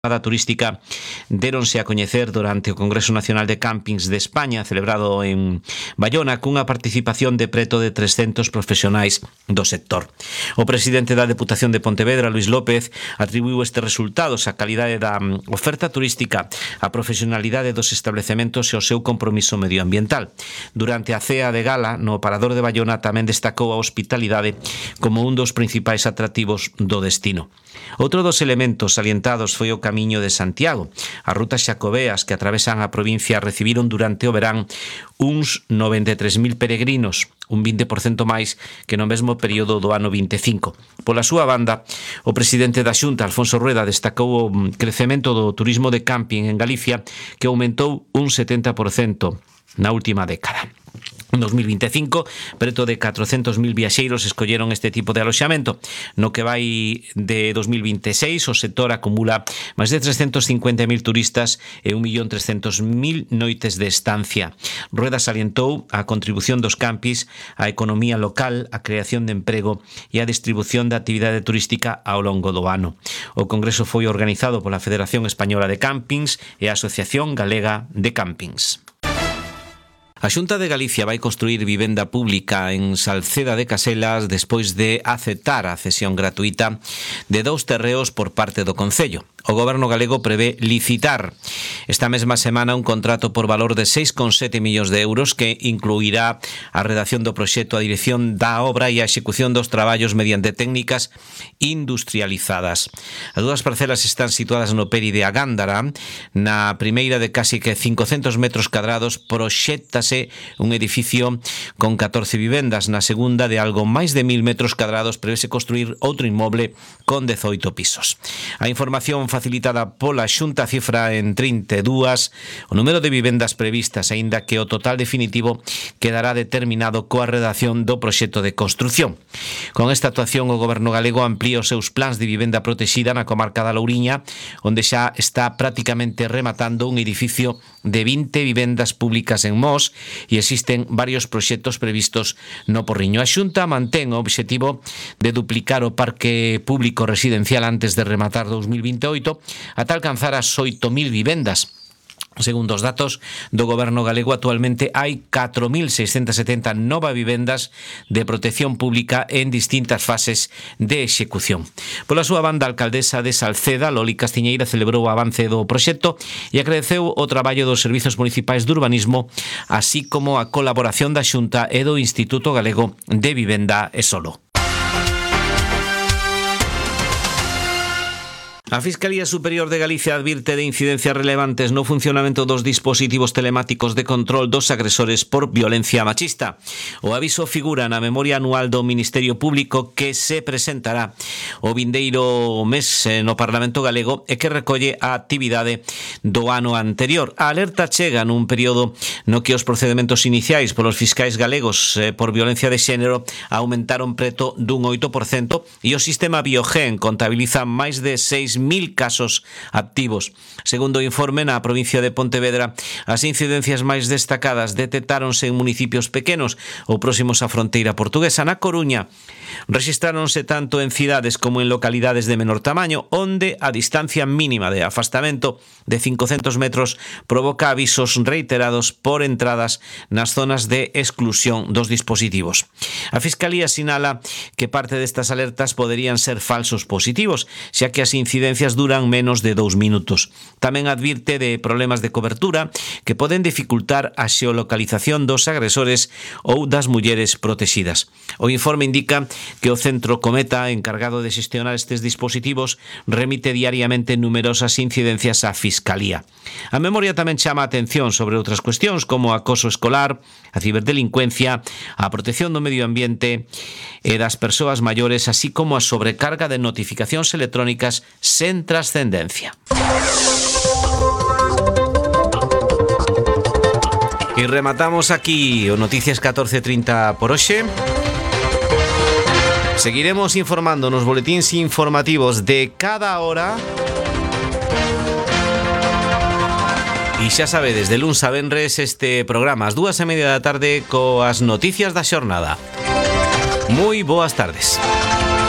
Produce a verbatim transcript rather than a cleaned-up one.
turística deronse a coñecer durante o Congreso Nacional de Campings de España celebrado en Bayona cunha participación de preto de trescentos profesionais do sector. O presidente da Deputación de Pontevedra, Luís López, atribuiu estes resultados á calidade da oferta turística, a profesionalidade dos establecementos e o seu compromiso medioambiental. Durante a cea de gala no Parador de Bayona tamén destacou a hospitalidade como un dos principais atractivos do destino. Outro dos elementos salientados foi o Camiño de Santiago. As rutas xacobeas que atravesan a provincia recibiron durante o verán uns noventa e tres mil peregrinos, un vinte por cento máis que no mesmo período do ano vinte e cinco. Pola súa banda, o presidente da Xunta, Alfonso Rueda, destacou o crecemento do turismo de camping en Galicia, que aumentou un setenta por cento na última década. En dos mil vinte e cinco, preto de catrocentos mil viaxeiros escolleron este tipo de aloxamento. No que vai de dos mil vinte e seis, o sector acumula máis de trescentos cincuenta mil turistas e un millón trescentos mil noites de estancia. Rueda salientou a contribución dos campis á economía local, a creación de emprego e a distribución de actividade turística ao longo do ano. O congreso foi organizado pola Federación Española de Campings e a Asociación Galega de Campings. A Xunta de Galicia vai construir vivenda pública en Salceda de Caselas despois de aceptar a cesión gratuita de dous terreos por parte do Concello. O Goberno galego prevé licitar esta mesma semana un contrato por valor de seis coma sete millóns de euros que incluirá a redacción do proxecto, a dirección da obra e a execución dos traballos mediante técnicas industrializadas. As dúas parcelas están situadas no Peri de Agándara. Na primeira, de casi que cincocentos metros cadrados, proxéctase un edificio con catorce vivendas. Na segunda, de algo máis de mil metros cadrados, prevese construir outro inmoble con dezoito pisos. A información facilitada pola Xunta cifra en trinta e dúas o número de vivendas previstas, aínda que o total definitivo quedará determinado coa redacción do proxecto de construción. Con esta actuación, o Goberno galego amplía os seus plans de vivenda protexida na comarca da Louriña, onde xa está prácticamente rematando un edificio de vinte vivendas públicas en Mos e existen varios proxectos previstos no Porriño. A Xunta mantén o obxectivo de duplicar o parque público residencial antes de rematar dous mil vinte e oito ata alcanzar as oito mil vivendas. Segundo os datos do Goberno galego, actualmente hai catro mil seiscentas setenta novas vivendas de protección pública en distintas fases de execución. Pola súa banda, a alcaldesa de Salceda, Loli Castiñeira, celebrou o avance do proxecto e agradeceu o traballo dos servizos municipais de urbanismo, así como a colaboración da Xunta e do Instituto Galego de Vivenda e Solo. A Fiscalía Superior de Galicia advirte de incidencias relevantes no funcionamento dos dispositivos telemáticos de control dos agresores por violencia machista. O aviso figura na memoria anual do Ministerio Público que se presentará o vindeiro mes no Parlamento galego e que recolle a actividade do ano anterior. A alerta chega nun período no que os procedementos iniciais polos fiscais galegos por violencia de xénero aumentaron preto dun oito por cento e o sistema Biogen contabiliza máis de seis mil casos activos. Segundo o informe, na provincia de Pontevedra, as incidencias máis destacadas detectáronse en municipios pequenos ou próximos á fronteira portuguesa. Na Coruña, rexistráronse tanto en cidades como en localidades de menor tamaño, onde a distancia mínima de afastamento de cincocentos metros provoca avisos reiterados por entradas nas zonas de exclusión dos dispositivos. A Fiscalía sinala que parte destas alertas poderían ser falsos positivos, xa que as incidencias duran menos de dous minutos. Tamén advirte de problemas de cobertura que poden dificultar a xeolocalización dos agresores ou das mulleres protegidas. O informe indica que o Centro Cometa, encargado de xestionar estes dispositivos, remite diariamente numerosas incidencias á Fiscalía. A memoria tamén chama a atención sobre outras cuestións como o acoso escolar, a ciberdelincuencia, a protección do medio ambiente e das persoas maiores, así como a sobrecarga de notificacións electrónicas sen trascendencia. E rematamos aquí o Noticias catorce trinta por hoxe. Seguiremos informando nos boletíns informativos de cada hora. E xa sabedes, de luns a venres este programa ás dúas e media da tarde coas noticias da xornada. Moi boas tardes.